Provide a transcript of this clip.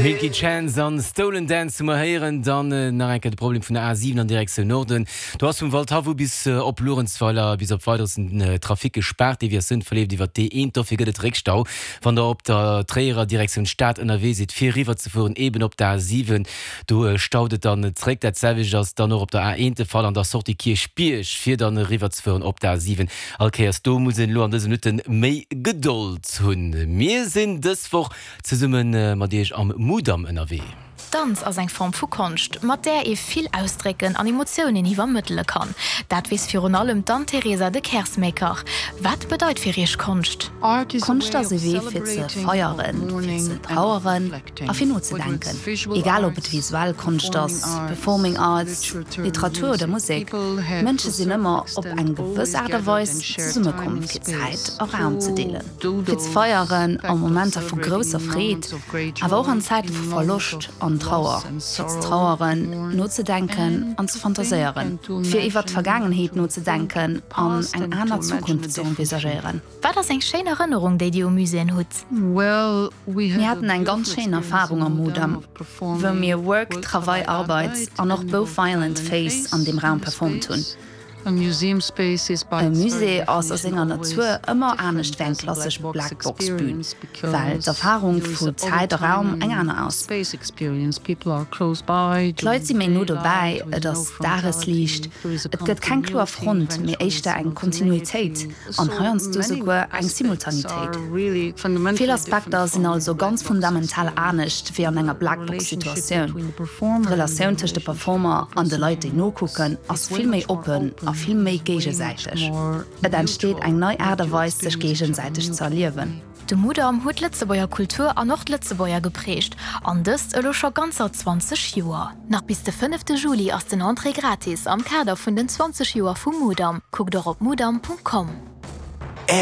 Milky Chance an Stolen Dance hu mer héieren. Dann nach eng Kéier de Problem vun der A7 an Direktioun Norden. Do ass vum Waldhaff u bis op Luerenzweiler bis op Weideres den Trafic gespaart. Deviatioun verleeft iwwer d'E1. Dofir gëtt et Réckstau, wann der op der Tréierer Direktioun Stad ënnerwee sidd, fir eriwwer ze fueren eben op der A7. Do staut et dann zréck. Dat selwecht ass dann och op der A1 de Fall an der Sortie Kierchbierg, fir dann eriwwer ze fueren op der A7. All Kéiers do muss een elo an dëse Minutte méi Gedold hunn. Mir sinn dës Woch zesumme mat iech am Mudam ënnerwee. Danz ass eng Form vu Konscht, mat där ee vill ausdrécken an Emotiounen iwwermëttele kann. Dat weess virun allem d'Anne-Teresa de Keersmaeker. Wat bedeit fir Iech Konscht? Konscht ass e Wee fir ze feieren, fir ze traueren a fir nozedenken. Egal ob et visuell Konscht ass, Performing Arts, Literatur oder Musek, Mënsche sinn ëmmer op eng gewëss Aart a Weis zesummekomm fir Zäit a Raum ze deelen, fir ze feieren a Momenter vu grousser Freed, awer och an Zäite vu Verloscht an Trauer, fir ze traueren, nozedenken an ze fantaséieren, fir iwwer d'Vergaangenheet nozedenken an eng aner Zukunft ze envisagéieren. Wat ass eng schéin Erënnerung, déi Dir u Muséeën hutt? Mir haten eng ganz schéin Erfarung am Mudam, wou mir Work, Travail, Arbeit an och Both Violent Face an deem Raum performt hunn. E Musée ass a senger Natur ëmmer anescht wéi eng klassesch Black-Box-Bün, well d'Erfarung vu Zäit a Raum eng aner ass. D'Leit si méi no dobäi, et ass Dagesliicht, et gëtt keng kloer Front, mee éischter eng Kontinuitéit. An heiansdo souguer eng Simultanitéit. Vill Aspekter sinn also ganz fundamental anescht wéi an enger Blackbox-Situatioun. D'Relatioun tëscht de Performer an de Leit, déi nokucken, ass vill méi oppen a vill méi géigesäiteg. Et entsteet eng nei Aart a Weis, sech géigesäiteg ze erliewen. De Mudam huet d'Lëtzebuerger Kultur an och d'Lëtzebuerger geprägt, an dëst elo scho ganzer 20 Joer. Nach bis de fënnefte Juli ass den Entrée gratis am Kader vun den 20 Joer vum Mudam. Kuckt och op mudam.com.